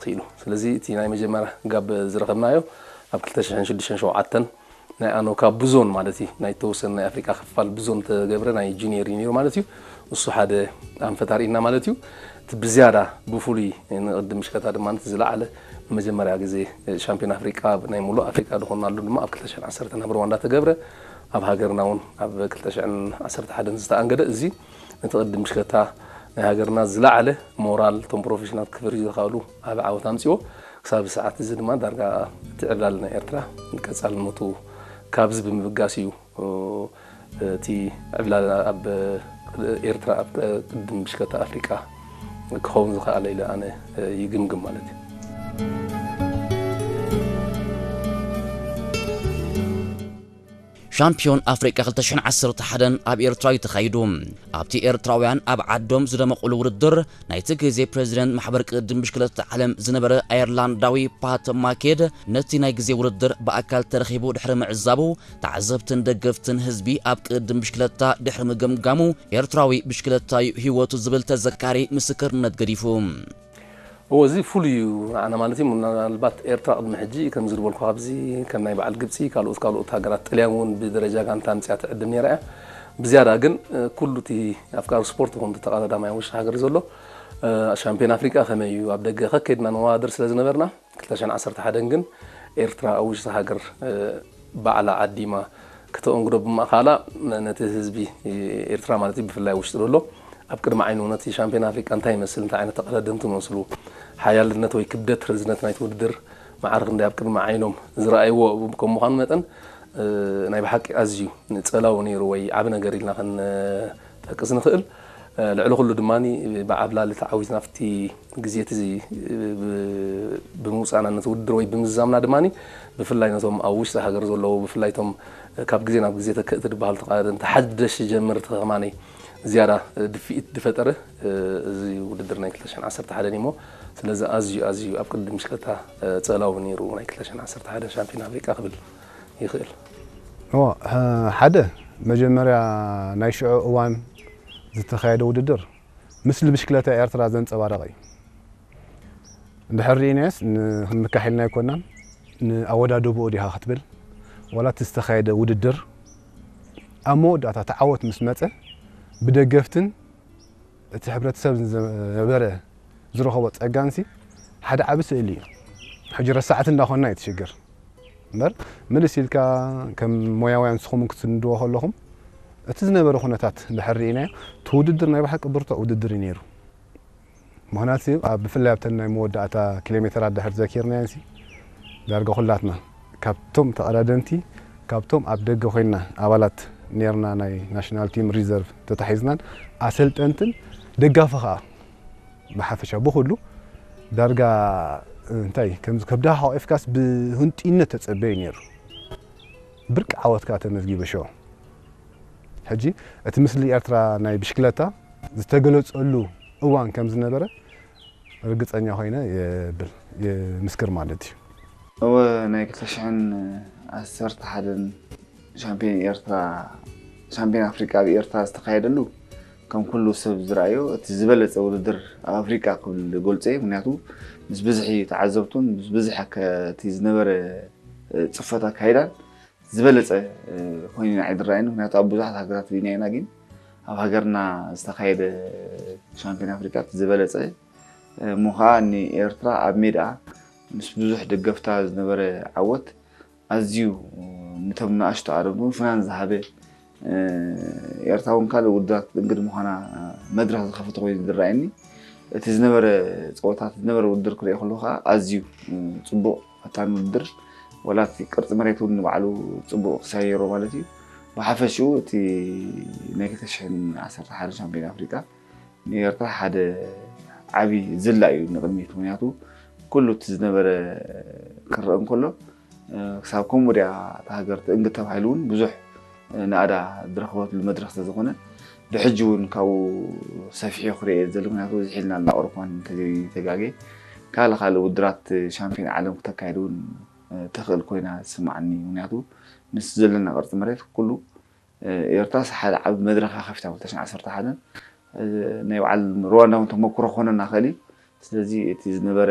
ክኢሉ። ስለዚ እቲ ናይ መጀመርያ ጋብ ዝረኸብናዮ ኣብ ክልተ ሽሕን ሽዱሽተን ሸውዓተን ናይ ኣኖካ ብዞን ማለት እዩ፣ ናይ ተወሰነ ናይ ኣፍሪቃ ክፋል ብዞን ተገብረ ናይ ጁኒየር እዩ ነይሩ ማለት እዩ። እሱ ሓደ ኣንፈት ኣርእና ማለት እዩ። እቲ ብዝያዳ ብፍሉይ ንቅድም ምሽከታ ድማ እቲ ዝለዓለ ንመጀመርያ ግዜ ሻምፒዮን ኣፍሪቃ ናይ ሙሉእ ኣፍሪቃ ዝኾናሉ ድማ ኣብ ክልተ ሽሕን ዓሰርተን ኣብ ሩዋንዳ ተገብረ። ኣብ ሃገርና እውን ኣብ ክልተ ሽሕን ዓሰርተ ሓደን ዝተኣንገደ እዚ ነቲ ቅድም ምሽከታ ናይ ሃገርና ዝለዓለ ሞራል እቶም ፕሮፌሽናል ክፍሪ ዝኸኣሉ ዓቢ ዓወት ኣምጺዎ። ክሳብ ሰዓት እዚ ድማ ዳርጋ እቲ ዕብላል ናይ ኤርትራ ቀጻልነቱ ካብዚ ብምብጋስ እዩ እቲ ዕብላል ኣብ ኤርትራ ኣብ ቅድም ብሽከታ ኣፍሪቃ ክኸውን ዝኸኣለ ኢለ ኣነ ይግምግም ማለት እዩ። ሻምፒዮን ኣፍሪቃ ክልተ ሽሕን ዓሰርተ ሓደን ኣብ ኤርትራ እዩ ተኻይዱ። ኣብቲ ኤርትራውያን ኣብ ዓዶም ዝደመቑሉ ውድድር ናይቲ ግዜ ፕሬዚደንት ማሕበር ቅድም ብሽክለታ ዓለም ዝነበረ ኣየርላንዳዊ ፓት ማኬድ ነቲ ናይ ግዜ ውድድር ብኣካል ተረኺቡ ድሕሪ ምዕዛቡ፣ ተዓዘብትን ደገፍትን ህዝቢ ኣብ ቅድም ብሽክለታ ድሕሪ ምግምጋሙ፣ ኤርትራዊ ብሽክለታ እዩ ህይወቱ ዝብል ተዘካሪ ምስክርነት ገዲፉ። እዎ፣ እዚ ፍሉይ እዩ ንዓና ማለት እዩ። ምናልባት ኤርትራ ቅድሚ ሕጂ ከምዚ ዝበልኩ ኣብዚ ከም ናይ በዓል ግብጺ ካልኦት ካልኦት ሃገራት ጥልያን እውን ብደረጃ ጋንታ ኣምጽያ ትዕድም ነይራ እያ። ብዝያዳ ግን ኩሉ እቲ ኣፍቃሪ ስፖርት ይኹን ተቐዳዳማይ ውሽጢ ሃገር ዘሎ ሻምፒዮን ኣፍሪቃ ከመይ እዩ ኣብ ደገ ከከድና ንወዳደር ስለ ዝነበርና ክልተ ሽሕን ዓሰርተ ሓደን ግን ኤርትራ ኣብ ውሽጢ ሃገር ባዕላ ዓዲማ ክተኦንግዶ ብምእኻላ ነቲ ህዝቢ ኤርትራ ማለት እዩ ብፍላይ ውሽጢ ዘሎ ኣብ ቅድሚ ዓይኑ ነቲ ሻምፒዮን ኣፍሪቃ እንታይ ይመስል እንታይ ዓይነት ተቐዳደምቲ መስሉ ሓያልነት ወይ ክብደት ርዝነት ናይቲ ውድድር ማዕረ ክንደይ ኣብ ቅድሚ ዓይኖም ዝረኣይዎ ከም ምዃኑ መጠን ናይ ብሓቂ ኣዝዩ ጸላዊ ነይሩ ወይ ዓቢ ነገር ኢልና ክንጠቅስ ንኽእል። ልዕሊ ኩሉ ድማ ብዓብላሊ ተዓዊትና ኣብቲ ግዜ እቲ ብምውፃእና ነቲ ውድድር ወይ ብምዝዛምና ድማ ብፍላይ ነቶም ኣብ ውሽጢ ሃገር ዘለዉ ብፍላይ ቶም ካብ ግዜ ናብ ግዜ ተክእቲ ዝበሃሉ ተቃደምቲ ሓደሽ ጀመርቲ ከማነይ ዝያዳ ድፍኢት ዝፈጠረ እዚ ውድድር ናይ ክልተ ሽሕን ዓሰርተ ሓደን እሞ ስለዚ ኣዝዩ ኣዝዩ ኣብ ቅድም ምሽከታ ፀላዊ ነይሩ ናይ ክልተ ሽሕን ዓሰርተ ሓደን ሻምፒዮን ኣፍሪቃ ክብል ይኽእል። እዎ፣ ሓደ መጀመርያ ናይ ሽዑ እዋን ዝተኻየደ ውድድር ምስሊ ብሽክለታ ኤርትራ ዘንጸባረቐ እዩ። እንድሕር ርኢናዮስ ንክንምካሕ ኢልና ኣይኮናን፣ ንኣወዳድብኡ ዲኻ ክትብል ዋላ እቲ ዝተኻየደ ውድድር ኣብ መወዳእታ እቲ ዓወት ምስ መጸ ብደገፍትን እቲ ሕብረተሰብ ዝነበረ ዝረኸቦ ጸጋንሲ ሓደ ዓቢ ስእሊ እዩ። ሕጂ ረሳዕቲ እንዳኾንና እዩ እቲ ሽግር። እምበር ምልስ ኢልካ ከም ሞያውያን ንስኹም ክትስንድዎ ከለኹም እቲ ዝነበረ ኩነታት እንድሕር ርኢናዮ እቲ ውድድር ናይ ብሓቂ ብርቱዕ ውድድር እዩ ነይሩ። ምኽንያቱ ኣብ ብፍላይ ኣብተን ናይ መወዳእታ ኪሎ ሜተራት ድሕር ዘኪርናዮንሲ ዳርጋ ኩላትና ካብቶም ተቐዳደምቲ ካብቶም ኣብ ደገ ኮይና ኣባላት ኔርና ናይ ናሽናል ቲም ሪዘርቭ ተታሒዝናን ኣሰልጠንትን ደጋፊ ከዓ ብሓፈሻ ብኩሉ ዳርጋ እንታይ ከምዚ ከብድኻ ሓቂፍካስ ብህንጡይነት ተጸበዩ ነይሩ። ብርቂ ዓወት ከኣ ተመዝጊቡ ሽዑ። ሕጂ እቲ ምስሊ ኤርትራ ናይ ብሽክለታ ዝተገለጸሉ እዋን ከም ዝነበረ ርግጸኛ ኮይነ የብል የምስክር ማለት እዩ። እወ ናይ ክልተ ሽሕን ዓሰርተ ሓደን ሻምፒዮን ኤርትራ ሻምፒዮን ኣፍሪቃ ኣብ ኤርትራ ዝተኻየደሉ ከም ኩሉ ሰብ ዝረኣዮ እቲ ዝበለጸ ውድድር ኣብ ኣፍሪቃ ክብል ገልጾ እየ። ምክንያቱ ምስ ብዝሒ ተዓዘብቱን ምስ ብዝሒ እቲ ዝነበረ ጽፈት ኣካይዳን ዝበለጸ ኮይኑ ንዓይ ዝረኣየኒ። ምክንያቱ ኣብ ብዙሓት ሃገራት ርኢና ኢና፣ ግን ኣብ ሃገርና ዝተኻየደ ሻምፒዮን ኣፍሪቃ እቲ ዝበለጸ እሞ ከዓ ንኤርትራ ኣብ ሜድኣ ምስ ብዙሕ ደገፍታ ዝነበረ ዓወት ኣዝዩ ንቶም ንኣሽቱ ኣረብ እውን ፍናን ዝሃበ ኤርትራ እውን ካልእ ውድድራት ክትእንግድ ምዃና መድረኽ ዝኸፈተ ኮይኑ ዝረኣየኒ። እቲ ዝነበረ ፀወታት ዝነበረ ውድድር ክርኢ ከለኹ ከዓ ኣዝዩ ፅቡቕ ፈታኒ ውድድር፣ ዋላ እቲ ቅርፂ መሬት እውን ንባዕሉ ፅቡቕ ክሳየሮ ማለት እዩ። ብሓፈሽኡ እቲ ናይ ክልተ ሽሕን ዓሰርተ ሓደ ሻምፒዮን ኣፍሪቃ ንኤርትራ ሓደ ዓቢ ዝላ እዩ ንቕድሚት። ምክንያቱ ኩሉ እቲ ዝነበረ ክረአ እንከሎ ክሳብ ከምኡ ድያ እታ ሃገር ትእንግድ ተባሂሉ እውን ብዙሕ ናእዳ ዝረኸበትሉ መድረኽ ስለዝኾነ ብሕጂ እውን ካብኡ ሰፊሑ ክረአ እዩ ዘሎ። ምክንያቱ ብዝሕ ኢልና ኣብ ኣውሮፓን እንተዘይተጋጌ ካልእ ካልእ ውድራት ሻምፒዮን ዓለም ክተካየድ እውን ተኽእል ኮይና ዝስማዓኒ። ምክንያቱ ምስ ዘለና ቅርፂ መሬት ኩሉ ኤርትራስ ሓደ ዓቢ መድረኽ ከፊታ ክልተ ሽሕን ዓሰርተ ሓደን ናይ በዓል ሩዋንዳ እውን ተመኩሮ ክኾነና ክእል እዩ። ስለዚ እቲ ዝነበረ